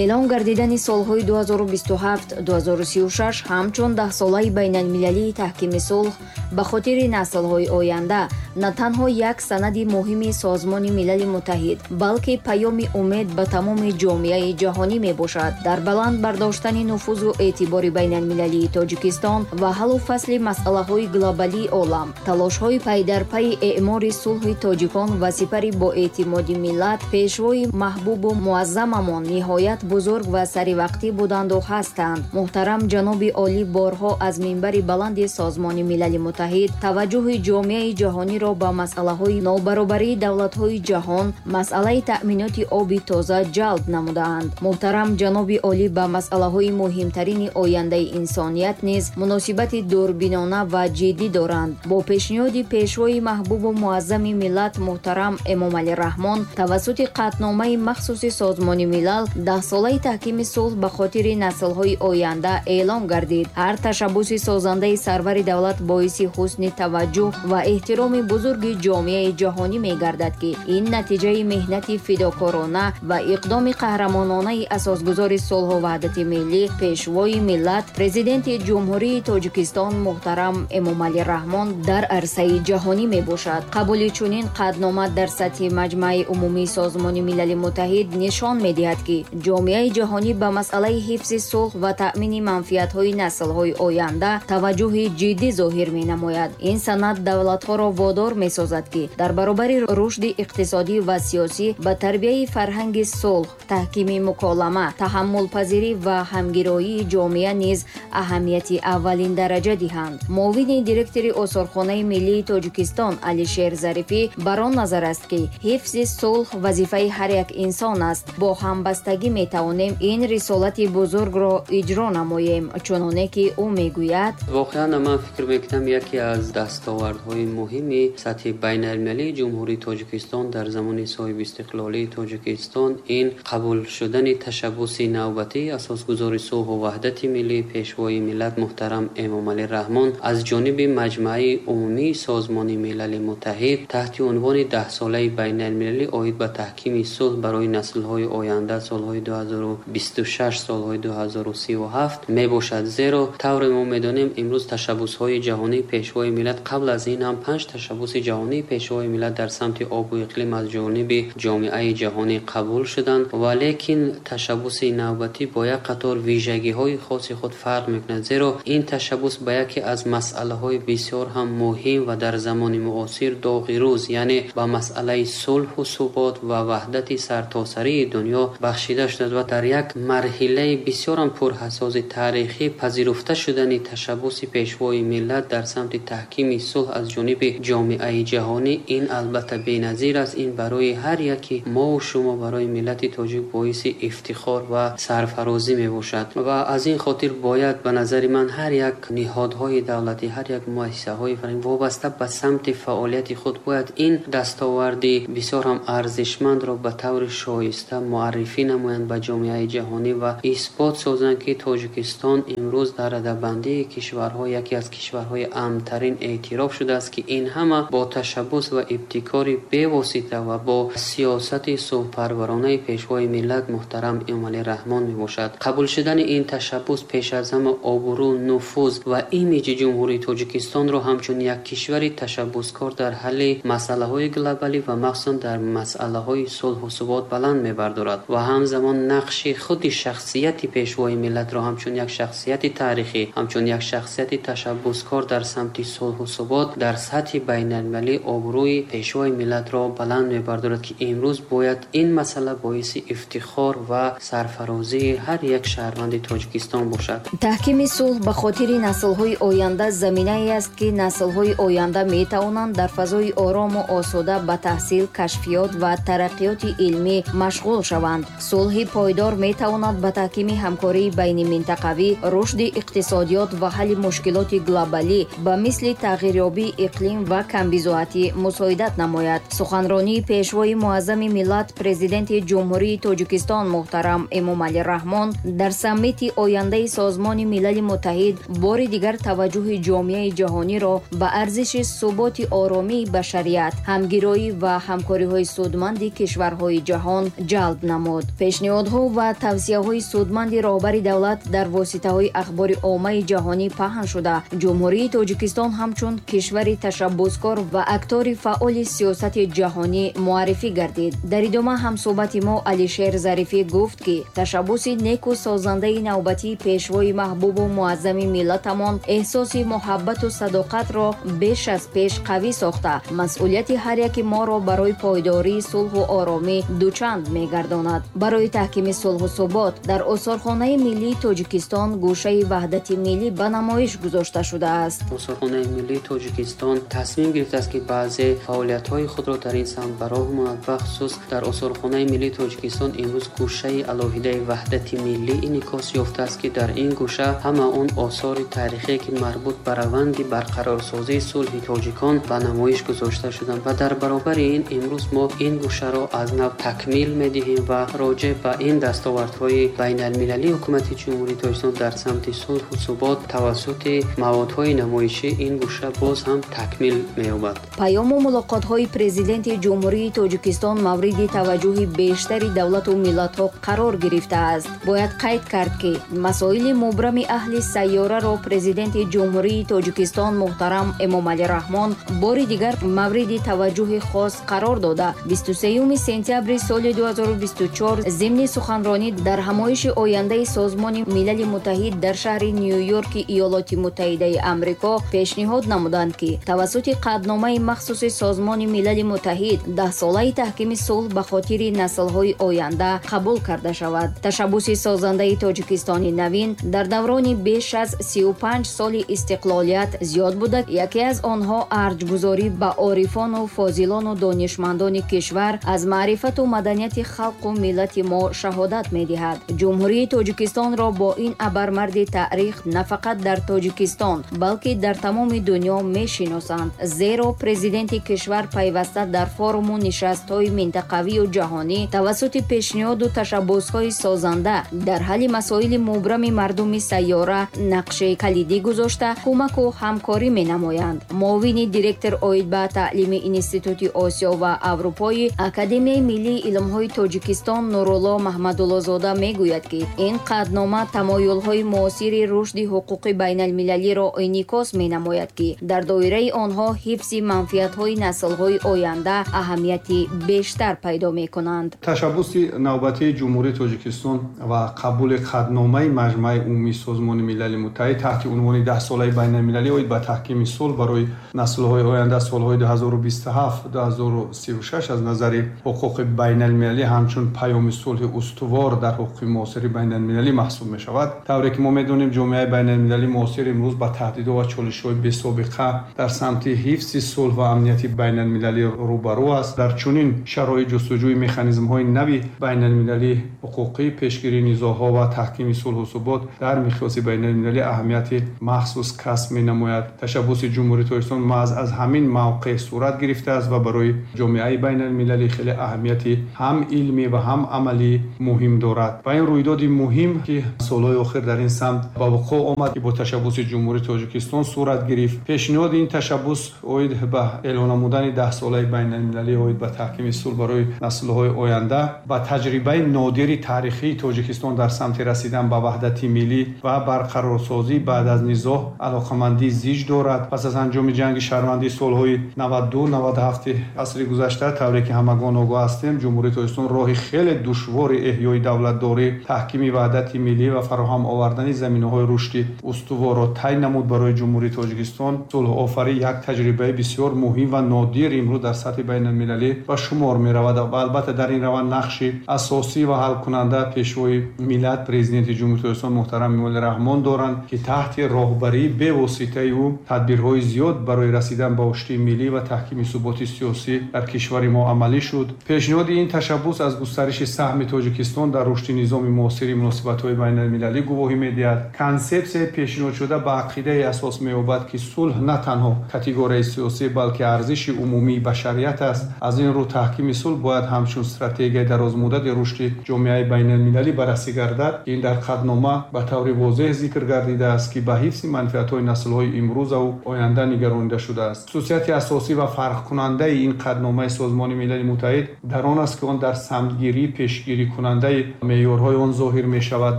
Эълон гардидани солҳои 2027-2036 ҳамчун даҳсолаи байналмилалии таҳкими сулҳ ба хотири наслҳои оянда на танҳо як санади муҳими Созмони Милали Муттаҳид, балки паёми умед ба тамоми ҷомеаи ҷаҳонӣ мебошад. Дар баланд бардоштани нуфузу эътибори байналмилалии Тоҷикистон ва ҳаллу фасли масъалаҳои глобалии олам, талошҳои пайдарпайи эъмори сулҳи тоҷикон ва сипари боэътимоди миллат, пешвои маҳбубу муаззамамон ниҳоят бузург ва саривақтӣ буданду ҳастанд. Муҳтарам ҷаноби олӣ борҳо аз минбари баланди Созмони Милали Муттаҳид таваҷҷӯҳи ҷомеаи ҷаҳониро ба масъалаҳои нобаробарии давлатҳои ҷаҳон, масъалаи таъминоти оби тоза ҷалб намудаанд. Муҳтарам ҷаноби олӣ ба масъалаҳои муҳимтарини ояндаи инсоният низ муносибати дурбинона ва ҷиддӣ доранд. Бо пешниҳоди пешвои маҳбубу муаззами миллат муҳтарам Эмомалӣ Раҳмон тавассути қатъномаи махсуси Созмони Милал даҳсолаи таҳкими сулҳ ба хотири наслҳои оянда эълон гардид. Ҳар ташаббуси созандаи сарвари давлат боиси ҳусни таваҷҷӯҳ ва эҳтироми бузурги ҷомеаи ҷаҳонӣ мегардад, ки ин натиҷаи меҳнати фидокорона ва иқдоми қаҳрамононаи асосгузори сулҳу ваҳдати миллӣ, пешвои миллат, Президенти Ҷумҳурии Тоҷикистон муҳтарам Эмомалӣ Раҳмон дар арсаи ҷаҳонӣ мебошад. Қабули чунин қатънома дар сатҳи Маҷмаи Умумии Созмони Милали Муттаҳид нишон медиҳад, ки ҷомеаи ҷаҳонӣ ба масъалаи ҳифзи сулҳ ва таъмини манфиатҳои наслҳои оянда таваҷҷӯҳи ҷиддӣ зоҳир менамояд. Ин санад давлатҳоро водор месозад, ки дар баробари рушди иқтисодӣ ва сиёсӣ ба тарбияи фарҳанги сулҳ, таҳкими муколама, таҳаммулпазирӣ ва ҳамгироии ҷомеа низ аҳамияти аввалин дараҷа диҳанд. Муовини директори Осорхонаи миллии Тоҷикистон Алишер Зарифӣ бар он назар аст, ки ҳифзи сулҳ вазифаи ҳар як инсон аст. Бо ҳамбастагӣ метавонем ин рисолати бузургро иҷро намоем, чуноне ки ӯ мегӯяд. Воқеан ман фикр мекунам, яке аз дастовардҳои муҳими сатҳи байналмилалии Ҷумҳурии Тоҷикистон дар замони соҳибистиқлолии Тоҷикистон ин қабул шудани ташаббуси навбатии асосгузори сулҳу ваҳдати миллӣ, пешвои миллат муҳтарам Эмомалӣ Раҳмон аз ҷониби Маҷмаи Умумии Созмони Милали Муттаҳид таҳти унвони даҳсолаи байналмилалӣ оид ба таҳкими сулҳ барои наслҳои оянда солҳои 2026 солҳои 2037 мебошад. Зеро тавре мо медонем, имрӯз ташаббусҳои ҷаҳонии пешвои миллат, қабл аз ин ҳам 5 ташаббуси ҷаҳонии пешвои миллат дар самти обу иқлим аз ҷониби ҷомеаи ҷаҳонӣ қабул шуданд, валекин ташаббуси навбатӣ бо як қатор вижагиҳои хоси худ фарқ мекунад, зеро ин ташаббус ба яке аз масъалаҳои бисёр ҳам муҳим ва дар замони муосир доғи рӯз, яъне ба масъалаи сулҳу субот ва ваҳдати сартосарии дунё бахшида шудааст ва дар як марҳилаи бисёр ҳам пурҳассоси таърихӣ пазируфта шудани ташаббуси пешвои миллат дар самти таҳкими сулҳ аз ҷониби ҷомеаи ҷаҳонӣ ин албатта беназир аст. Ин барои ҳар яки мову шумо, барои миллати тоҷик боиси ифтихор ва сарфарозӣ мебошад ва аз ин хотир бояд ба назари ман ҳар як ниҳодҳои давлатӣ, ҳар як муассисаҳои фарҳангӣ вобаста ба самти фаъолияти худ бояд ин дастоварди бисёр ҳам арзишмандро ба таври шоиста муаррифӣ намоянд ба ҷомеаи ҷаҳонӣ ва исбот созанд, ки Тоҷикистон имрӯз дар радабандии кишварҳо яке аз кишварҳои амнтарин эътироф шудааст, ки ин ҳама бо ташаббус ва ибтикори бевосита ва бо сиёсати сулҳпарваронаи пешвои миллат муҳтарам Эмомалӣ Раҳмон мебошад. Қабул шудани ин ташаббус пеш аз ҳама обрӯ, нуфуз ва имиҷи Ҷумҳурии Тоҷикистонро ҳамчун як кишвари ташаббускор дар ҳалли масъалаҳои глобалӣ ва махсусан дар масъалаҳои сулҳу субот баланд мебардорад ва ҳамзамон нақши худи шахсияти пешвои миллатро ҳамчун як шахсияти таърихӣ, ҳамчун як шахсияти ташаббускор дар самти сулҳу субот дар сатҳи байналмилалӣ обрӯи пешвои миллатро баланд мебардорад, ки имрӯз бояд ин масъала боиси ифтихор ва сарфарозии ҳар як шаҳрванди Тоҷикистон бошад. Таҳкими сулҳ ба хотири наслҳои оянда заминае аст, ки наслҳои оянда метавонанд дар фазои орому осуда ба таҳсил, кашфиёт ва тараққиёти илмӣ машғул шаванд. Сулҳи пойдор метавонад ба таҳкими ҳамкории байниминтақавӣ, рушди иқтисодиёт ва ҳалли мушкилоти глобалӣ ба мисли тағйирёбии иқлим ва камбизоатӣ мусоидат намояд. Суханронии пешвои муаззами миллат, Президенти Ҷумҳурии Тоҷикистон муҳтарам Эмомалӣ Раҳмон дар саммити ояндаи Созмони Милали Муттаҳид бори дигар таваҷҷӯҳи ҷомеаи ҷаҳониро ба арзиши суботи оромии башарият, ҳамгироӣ ва ҳамкориҳои судманди кишварҳои ҷаҳон ҷалб намуд. Пешниҳоди Пешниҳодҳо ва тавсияҳои судманди роҳбари давлат дар воситаҳои ахбори оммаи ҷаҳонӣ паҳн шуда, Ҷумҳурии Тоҷикистон ҳамчун кишвари ташаббускор ва актори фаъоли сиёсати ҷаҳонӣ муаррифӣ гардид. Дар идома ҳамсӯҳбати мо Алишер Зарифӣ гуфт, ки ташаббуси неку созандаи навбатии пешвои маҳбубу муаззами миллатамон эҳсоси муҳаббату садоқатро беш аз пеш қавӣ сохта, масъулияти ҳар яки моро барои пойдории сулҳу оромӣ дучанд мегардонад. Барои таҳкими сулҳу субот дар Осорхонаи миллии Тоҷикистон гӯшаи ваҳдати миллӣ ба намоиш гузошта шудааст. Осорхонаи миллии Тоҷикистон тасмим гирифтааст, ки баъзе фаъолиятҳои худро дар ин самт ба роҳ монад. Бахусус дар Осорхонаи миллии Тоҷикистон имрӯз гӯшаи алоҳидаи ваҳдати миллӣ инъикос ёфтааст, ки дар ин гӯша ҳама он осори таърихие, ки марбут ба раванди барқарорсозии сулҳи тоҷикон ба намоиш гузошта шуданд ва дар баробари ин имрӯз мо ин гӯшаро аз нав такмил медиҳем ва роҷеъ ба ин дастовардҳои байналмилалии ҳукумати Ҷумҳурии Тоҷикистон дар самти сулҳу субот тавассути маводҳои намоишӣ ин гӯша боз ҳам такмил меёбад. Паёму мулоқотҳои президенти Ҷумҳурии Тоҷикистон мавриди таваҷҷӯҳи бештари давлату миллатҳо қарор гирифтааст. Бояд қайд кард, ки масоили мубрами аҳли сайёраро президенти Ҷумҳурии Тоҷикистон муҳтарам Эмомалӣ Раҳмон бори дигар мавриди таваҷҷӯҳи хос қарор дода, 23 сентябри соли 2024 зимни суханронӣ дар ҳамоиши ояндаи Созмони Милали Муттаҳид дар шаҳри Нью-Йорки Иёлоти Муттаҳидаи Амрико пешниҳод намуданд, ки тавассути қатъномаи махсуси Созмони Милали Муттаҳид даҳсолаи таҳкими сулҳ ба хотири наслҳои оянда қабул карда шавад. Ташаббуси созандаи Тоҷикистони навин дар даврони беш аз 35 соли истиқлолият зиёд буда, яке аз онҳо арҷгузорӣ ба орифону фозилону донишмандони кишвар аз маърифату маданияти халқу миллати мо шаҳодат медиҳад. Ҷумҳурии Тоҷикистонро бо ин абармарди таърих на фақат дар Тоҷикистон, балки дар тамоми дунё мешиносанд, зеро президенти кишвар пайваста дар форуму нишастҳои минтақавию ҷаҳонӣ тавассути пешниҳоду ташаббусҳои созанда дар ҳалли масоили мубрами мардуми сайёра нақши калидӣ гузошта, кӯмаку ҳамкорӣ менамоянд. Муовини директор оид ба таълими Институти Осиё ва Аврупои Академияи миллии илмҳои Тоҷикистон Нурулло Маҳмадуллозода мегӯяд, ки ин қатънома тамоюлҳои муосири рушди ҳуқуқи байналмилалиро инъикос менамояд, ки дар доираи онҳо ҳифзи манфиатҳои наслҳои оянда аҳамияти бештар пайдо мекунанд. Ташаббуси навбатии Ҷумҳурии Тоҷикистон ва қабули қатъномаи Маҷмааи умумии Созмони Милали Муттаҳид таҳти унвони даҳсолаи байналмилалӣ оид ба таҳкими сулҳ барои наслҳои оянда солҳои 2027-2036 аз назари ҳуқуқи байналмилалӣ ҳамчун паёми сулҳи устувор дар ҳуқуқи муосири байналмилалӣ маҳсуб мешавад. Тавре ки мо медонем, ҷомеаи байналмилалӣ муосир имрӯз ба таҳдидҳо ва чолишҳои бесобиқа дар самти ҳифзи сулҳ ва амнияти байналмилалӣ рӯбарӯ аст. Дар чунин шароит ҷустуҷӯи механизмҳои нави байналмилалӣ ҳуқуқӣ, пешгирии низоъҳо ва таҳкими сулҳу субот дар миқёси байналмилалӣ аҳамияти махсус касб менамояд. Ташаббуси Ҷумҳурии Тоҷикистон маҳз аз ҳамин мавқеъ сурат гирифтааст ва барои ҷомеаи байналмилалӣ хеле аҳамияти ҳам илмӣ ва ҳам амалӣ муҳим дорад. Ва ин рӯйдоди муҳим, ки солҳои охир дар ин самт ба вуқӯъ омад, ки бо ташаббуси Ҷумҳурии Тоҷикистон сурат гирифт. Пешниҳоди ин ташаббус оид ба эълон намудани даҳсолаи байналмилалӣ оид ба таҳкими сулҳ барои наслҳои оянда ба таҷрибаи нодири таърихии Тоҷикистон дар самти расидан ба ваҳдати миллӣ ва барқарорсозӣ баъд аз низоъ алоқамандии зич дорад. Пас аз анҷоми ҷанги шаҳрвандии солҳои 92-97 асри гузашта, тавре ки ҳамагон огоҳ ҳастем, Ҷумҳурии Тоҷикистон роҳи хеле душвори эҳёи давлатдорӣ, таҳкими ваҳдати миллӣ ва фароҳам овардани заминаҳои рушди устуворро тай намуд. Барои Ҷумҳурии Тоҷикистон сулҳофарӣ як таҷрибаи бисёр муҳим ва нодир имрӯз дар сатҳи байналмилалӣ ба шумор меравад ва албатта дар ин раванд нақши асосӣ ва ҳалкунанда пешвои миллат, президенти Ҷумҳурии Тоҷикистон муҳтарам Эмомалӣ Раҳмон доранд, ки таҳти роҳбарии бевоситаи ӯ тадбирҳои зиёд барои расидан ба оштии миллӣ ва таҳкими суботи сиёсӣ дар кишвари мо амалӣ шуд. Пешниҳоди ин ташаббус аз густариши саҳми Тоҷикистон дар рушди низоми муосири муносибатҳои байналмилалӣ гувоҳӣ медиҳад. Консепсияи пешниҳодшуда ба ақидаи асос меёбад, ки сулҳ на танҳо категорияи сиёсӣ, балки арзиши умумии башарият аст. Аз ин рӯ таҳкими сулҳ бояд ҳамчун стратегияи дарозмуддати рушди ҷомеаи байналмилалӣ баррасӣ гардад. Ин дар қатънома ба таври возеҳ зикр гардидааст, ки ба ҳифзи манфиатҳои наслҳои имрӯзаву оянда нигаронида шудааст. Хусусияти асосӣ ва фарқкунандаи ин қатъномаи Созмони Милали Муттаҳид дар он аст, ки он дар самтгирии пешгирикунанда пешгирикунандаи меъёрҳои он зоҳир мешавад.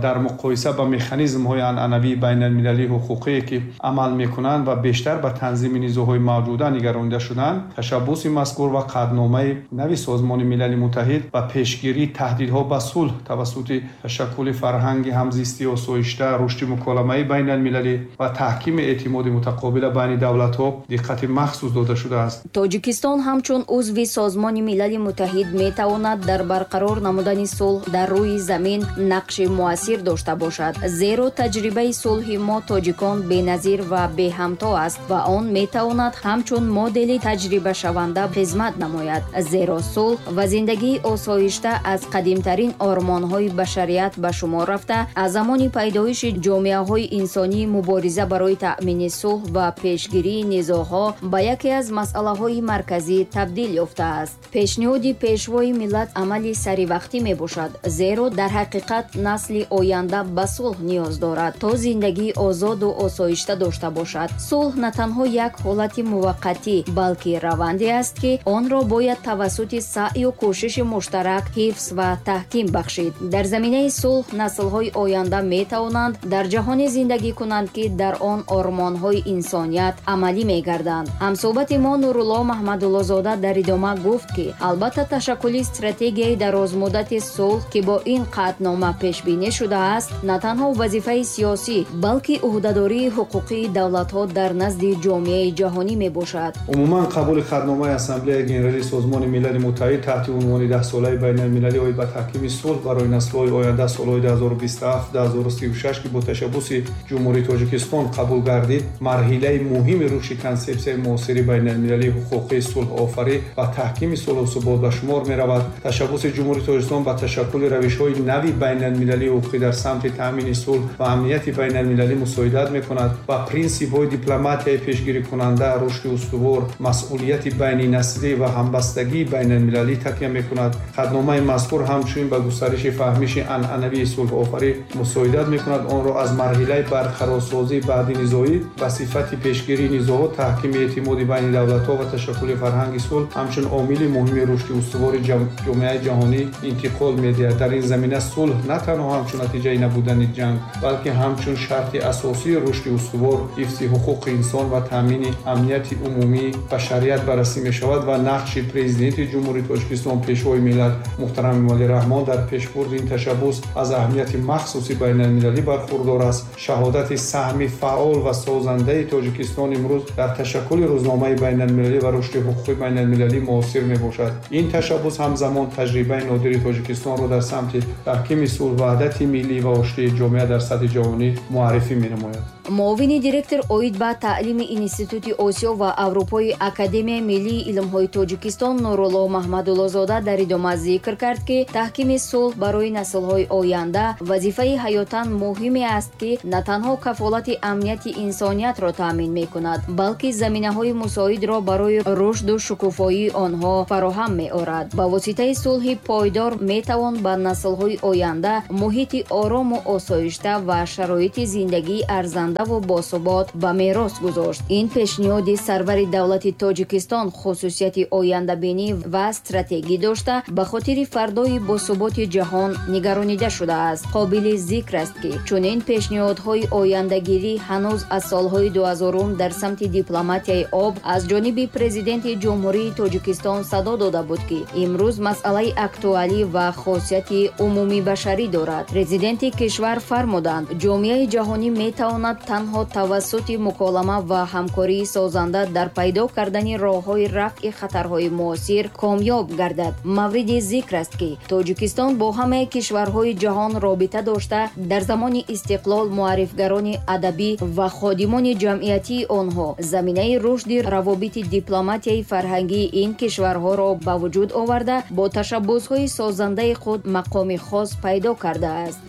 Дар муқоиса ба механизмҳои анъанавии байналмилалии ҳуқуқие, ки амал мекунанд ва бештар ба танзими низоъҳои мавҷуда нигаронида шуданд, ташаббуси мазкур ва қатъномаи нави Созмони Милали Муттаҳид ба пешгирии таҳдидҳо ба сулҳ тавассути ташаккули фарҳанги ҳамзистии осоишта, рушди муколамаи байналмилалӣ ва таҳкими эътимоди мутақобила байни давлатҳо диққати махсус дода шудааст. Тоҷикистон ҳамчун узви Созмони Милали Муттаҳид метавонад дар барқарор намудани сулҳ дар рӯи замин нақши муассир дошта бошад, зеро таҷрибаи сулҳи мо тоҷикон беназир ва беҳамто аст ва он метавонад ҳамчун модели таҷрибашаванда хизмат намояд, зеро сулҳ ва зиндагии осоишта аз қадимтарин ормонҳои башарият ба шумор рафта, аз замони пайдоиши ҷомеаҳои инсонӣ мубориза барои таъмини сулҳ ва пешгирии низоъҳо ба яке аз масъалаҳои марказӣ табдил ёфтааст. Пешниҳоди Пешвои миллат амали саривақтӣ мебошад, зеро дар ҳақиқат насли оянда ба сулҳ ниёз дорад, то зиндагии озоду осоишта дошта бошад. Сулҳ на танҳо як ҳолати муваққатӣ, балки раванде аст, ки онро бояд тавассути саъю кӯшиши муштарак ҳифз ва таҳким бахшид. Дар заминаи сулҳ наслҳои оянда метавонанд дар ҷаҳоне зиндагӣ кунанд, ки дар он ормонҳои инсоният амалӣ мегарданд. Ҳамсӯҳбати мо Нурулло Маҳмадуллозода дар идома гуфт, ки албатта ташаккули стратегияи дарозмуддати сулҳ, ки бо ин қатънома пешбинӣ шудааст, на танҳо вазифаи сиёсӣ, балки ӯҳдадории ҳуқуқии давлатҳо дар назди ҷомеаи ҷаҳонӣ мебошад. Умуман қабули қатъномаи Ассамблеяи Генералии Созмони Милали Муттаҳид таҳти унвони Даҳсолаи байналмилалӣ оид ба таҳкими сулҳ барои наслҳои оянда солҳои 2027-2036, ки бо ташаббуси Ҷумҳурии Тоҷикистон қабул гардид, марҳилаи муҳими рушди консепсияи муосири байналмилалии ҳуқуқии сулҳофарӣ ва таҳкими сулҳу субот ба шумор меравад. Ташаббуси Ҷумҳурии Тоҷикистон ба ташаккули равишҳои нави байналмилалии ҳуқуқӣ дар самти таъмини сулҳ ва амнияти байналмилалӣ мусоидат мекунад ва принсипҳои дипломатияи пешгирикунанда, рушди устувор, масъулияти байнинаслӣ ва ҳамбастагии байналмилалӣ такя мекунад. Қатъномаи мазкур ҳамчунин ба густариши фаҳмиши анъанавии сулҳофарӣ мусоидат мекунад, онро аз марҳилаи барқарорсозии баъди низоӣ ба сифати пешгирии низоъҳо, таҳкими эътимоди байни давлатҳо ва ташаккули фарҳанги сулҳ ҳамчун омили муҳими рушди устувори ҷомеаи ҷаҳонӣ интиқол медиҳад. Дар ин замина сулҳ на танҳо ҳамчун натиҷаи набудани ҷанг, балки ҳамчун шарти асосии рушди устувор, ҳифзи ҳуқуқи инсон ва таъмини амнияти умумии башарият баррасӣ мешавад ва нақши Президенти Ҷумҳурии Тоҷикистон, Пешвои миллат муҳтарам Эмомалӣ Раҳмон дар пешбурди ин ташаббус аз аҳамияти махсуси байналмилалӣ бархурдор аст. Шаҳодати саҳми фаъол ва созандаи Тоҷикистон имрӯз дар ташаккули рӯзномаи байналмилалӣ ва рушди ҳуқуқи байналмилалӣ муосир мебошад. Ин ташаббус ҳамзамон таҷрибаи нодири Тоҷикистонро дар самти таҳкими сулҳ, ваҳдати миллӣ ва оштии ҷомеа дар сатҳи ҷаҳонӣ муаррифӣ менамояд. Муовини директор оид ба таълими Институти Осиё ва Аврупои Академияи миллии илмҳои Тоҷикистон Нурулло Маҳмадуллозода дар идома зикр кард, ки таҳкими сулҳ барои наслҳои оянда вазифаи ҳаётан муҳиме аст, ки на танҳо кафолати амнияти инсониятро таъмин мекунад, балки заминаҳои мусоидро барои рушду шукуфоии онҳо фароҳам меорад. Ба воситаи сулҳи пойдор метавон ба наслҳои оянда муҳити орому осоишта ва шароити зиндагии арзанда ва босубот ба мерос гузошт. Ин пешниҳоди сарвари давлати Тоҷикистон хусусияти ояндабинӣ ва стратегӣ дошта, ба хотири фардои босуботи ҷаҳон нигаронида шудааст. Қобили зикр аст, ки чунин пешниҳодҳои ояндагирӣ ҳанӯз аз солҳои 2000 дар самти дипломатияи об аз ҷониби Президенти Ҷумҳурии Тоҷикистон садо дода буд, ки имрӯз масъалаи актуалӣ ва хосияти умумибашарӣ дорад. Президенти кишвар фармуданд, ҷомеаи ҷаҳонӣ метавонад танҳо тавассути муколама ва ҳамкории созанда дар пайдо кардани роҳҳои рафъи хатарҳои муосир комёб гардад. Мавриди зикр аст, ки Тоҷикистон бо ҳамаи кишварҳои ҷаҳон робита дошта, дар замони истиқлол муаррифгарони адабӣ ва ходимони ҷамъиятии онҳо заминаи рушди равобити дипломатияи фарҳангии ин кишварҳоро ба вуҷуд оварда, бо ташаббусҳои созандаи худ мақоми хос пайдо кардааст.